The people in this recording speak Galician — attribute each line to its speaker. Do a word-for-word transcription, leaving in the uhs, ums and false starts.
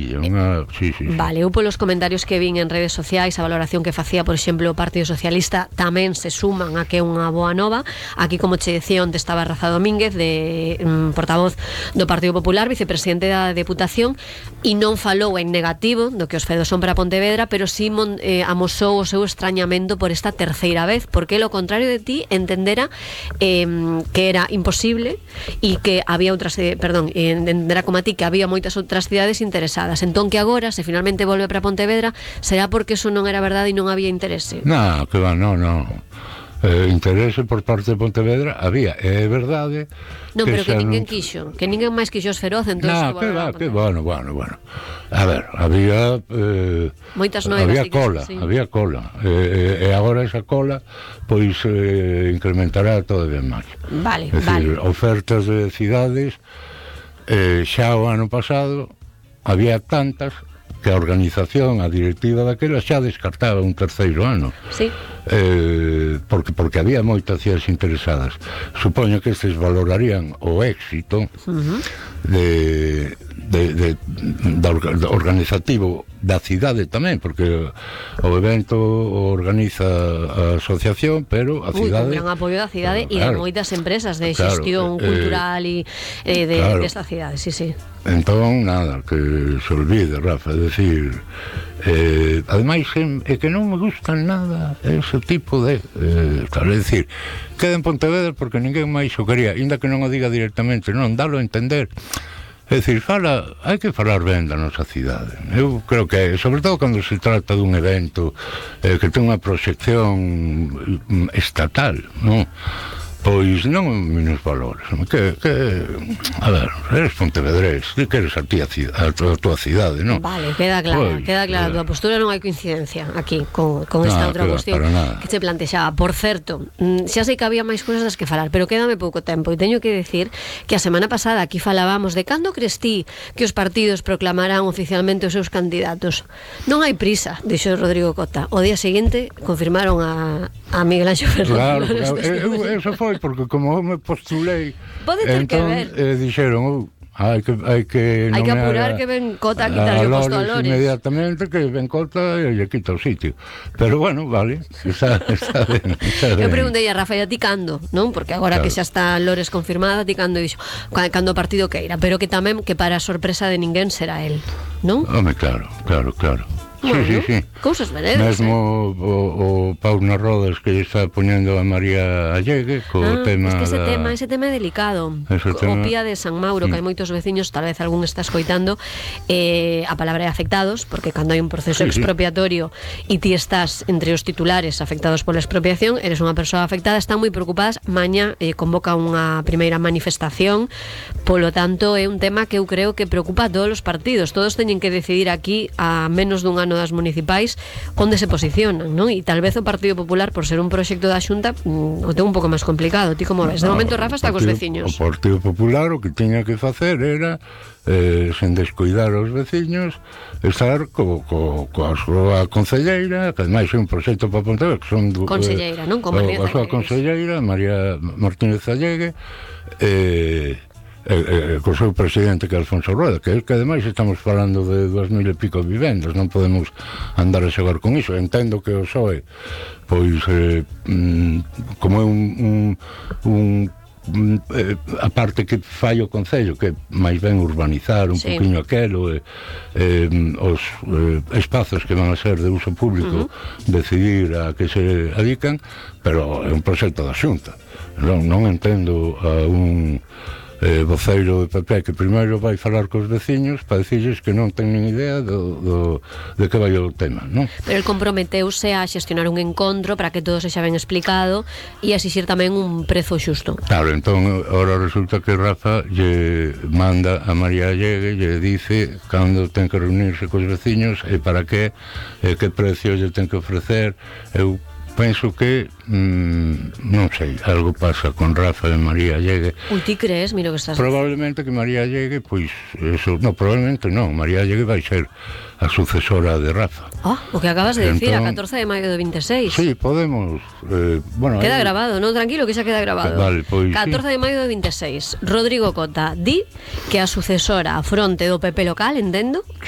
Speaker 1: sí, unha, sí, sí, sí.
Speaker 2: Vale, eu polos comentarios que vin en redes sociais, a valoración que facía, por exemplo, o Partido Socialista, tamén se suman a que é unha boa nova. Aquí, como che decía, onde estaba Rafa Domínguez, de um, portavoz do Partido Popular, vicepresidente da Deputación, e non falou en negativo do que os fedos son para Pontevedra, pero sí mon, eh, amosou o seu extrañamento por esta terceira vez, porque lo contrario de ti entendera eh, que era imposible e que había outras, eh, perdón, entendera como a ti que había moitas outras cidades interesadas. Entón que agora, se finalmente volve para Pontevedra, será porque eso non era verdade e non había interese?
Speaker 1: Non, que va, non, non. Eh, interese por parte de Pontevedra había, é verdade.
Speaker 2: Non, pero que, que ninguén
Speaker 1: non...
Speaker 2: quixo, que ninguén máis quixo os feroz, entón
Speaker 1: non, que va, que bueno, bueno, bueno. A ver, había eh,
Speaker 2: moitas noivas,
Speaker 1: había cola,
Speaker 2: sí.
Speaker 1: había cola. E, e agora esa cola pois eh, incrementará todavía máis.
Speaker 2: Vale,
Speaker 1: é dicir,
Speaker 2: vale.
Speaker 1: ofertas de cidades, eh, xa o ano pasado había tantas que a organización, a directiva daquela xa descartaba un terceiro ano.
Speaker 2: Sí.
Speaker 1: Eh, porque porque había moitas cidades interesadas. Supoño que estes valorarían o éxito uh-huh. de, de, de, de, de organizativo da cidade tamén, porque o evento o organiza a asociación, pero a cidade...
Speaker 2: Ui, con gran apoio da cidade e
Speaker 1: claro,
Speaker 2: de moitas empresas de
Speaker 1: claro,
Speaker 2: xestión
Speaker 1: eh,
Speaker 2: cultural e eh, de,
Speaker 1: claro.
Speaker 2: desta cidade, sí, sí.
Speaker 1: Entón, nada, que se olvide, Rafa, é dicir, eh, ademais é que non me gustan nada ese tipo de, eh, tal, é dicir, queda en Pontevedra porque ninguén máis o quería, ainda que non o diga directamente, non, dalo a entender. É dicir, fala, hai que falar ben da nosa cidade. Eu creo que, sobre todo cando se trata dun evento eh, que ten unha proxección estatal, non? Pois non menos valores. Que, que, a ver, eres pontevedrés, ti queres a ti a, a, a tua cidade, non?
Speaker 2: Vale, queda clara, pois, queda clara a tua postura, non hai coincidencia aquí con, con esta
Speaker 1: no,
Speaker 2: outra
Speaker 1: que
Speaker 2: cuestión que se plantexaba. Por certo, xa sei que había máis cousas das que falar, pero quédame pouco tempo e teño que decir que a semana pasada aquí falábamos de cando crees ti que os partidos proclamarán oficialmente os seus candidatos. Non hai prisa, dixo Rodrigo Cota. O día seguinte confirmaron a, a Miguel Anxo Fernández.
Speaker 1: Claro, claro, eso foi porque como eu me postulei,
Speaker 2: pode ter
Speaker 1: entón,
Speaker 2: que ver.
Speaker 1: Eh, dixeron, oh, hai que hai que
Speaker 2: hai que apurar que ven Cota a quitarlle o posto a Lores
Speaker 1: inmediatamente, que ven Cota e lle quita o sitio. Pero bueno, vale, está, está ben, está ben.
Speaker 2: Eu preguntei a Rafa, e a ti cando, non? Porque agora claro. que xa está Lores confirmada, ti cando dixo, cando o partido queira, pero que tamén que para a sorpresa de ninguén será el, non?
Speaker 1: Home, claro, claro, claro.
Speaker 2: Bueno,
Speaker 1: sí, sí, sí.
Speaker 2: Cousas veredas.
Speaker 1: Mesmo
Speaker 2: eh?
Speaker 1: o, o Pau nas rodas que está poñendo a María Allegue co
Speaker 2: ah,
Speaker 1: tema
Speaker 2: es que ese
Speaker 1: da...
Speaker 2: tema, ese tema é delicado.
Speaker 1: Ese
Speaker 2: o
Speaker 1: tema...
Speaker 2: Pía de San Mauro, que hai moitos veciños, tal vez algún está escoitando, eh, a palabra é afectados, porque cando hai un proceso
Speaker 1: sí,
Speaker 2: expropiatorio e ti estás entre os titulares afectados pola expropiación, eres unha persoa afectada, están moi preocupadas. Maña eh, convoca unha primeira manifestación, polo tanto é un tema que eu creo que preocupa a todos os partidos. Todos teñen que decidir aquí, a menos dun ano das municipais, onde se posicionan, non? E tal vez o Partido Popular, por ser un proxecto da Xunta, mm, o ten un pouco máis complicado. Ti como ves? De momento, Rafa está cos veciños.
Speaker 1: O Partido Popular o que tiña que facer era, eh, sen descuidar os veciños, estar co, co, coa súa concelleira, que ademais é un proxecto para Pontevedra, que son... Do,
Speaker 2: conselleira, non? Con María
Speaker 1: a súa conselleira, María Martínez Allegue, eh... Eh, eh, co seu presidente, que é Alfonso Rueda, que é que ademais estamos falando de dúas mil e pico vivendas, non podemos andar a xogar con iso. Entendo que o P S O E pois eh, mm, como é un, un, un eh, a parte que fai o Concello, que máis ben urbanizar un sí. poquinho aquelo, eh, eh, os eh, espazos que van a ser de uso público, uh-huh. decidir a que se adican, pero é un proxecto da Xunta. Non, non entendo a un eh, voceiro de P P que primeiro vai falar cos veciños para dicirles que non ten nin idea do, do, de que vai o tema, non?
Speaker 2: Pero el comprometeuse a xestionar un encontro para que todo sexa ben explicado e a exixir tamén un prezo xusto.
Speaker 1: Claro, entón, ahora resulta que Rafa lle manda a María Allegue, lle dice cando ten que reunirse cos veciños e para que, e que precio lle ten que ofrecer. Eu penso que, mmm, non sei, algo pasa con Rafa e María Allegue.
Speaker 2: Ui, ti crees? Mira que estás...
Speaker 1: Probablemente que María Allegue, pois, eso, no, probablemente non, María Allegue vai ser a sucesora de Rafa.
Speaker 2: Ah, o que acabas de entón, decir, a catorce de maio de veintiséis.
Speaker 1: Sí, podemos, eh, bueno...
Speaker 2: Queda
Speaker 1: hay...
Speaker 2: grabado, non? Tranquilo, que xa queda grabado.
Speaker 1: Vale, pois,
Speaker 2: catorce de maio de veintiséis. Rodrigo Cota di que a sucesora a fronte do P P local, entendo?
Speaker 1: Sí.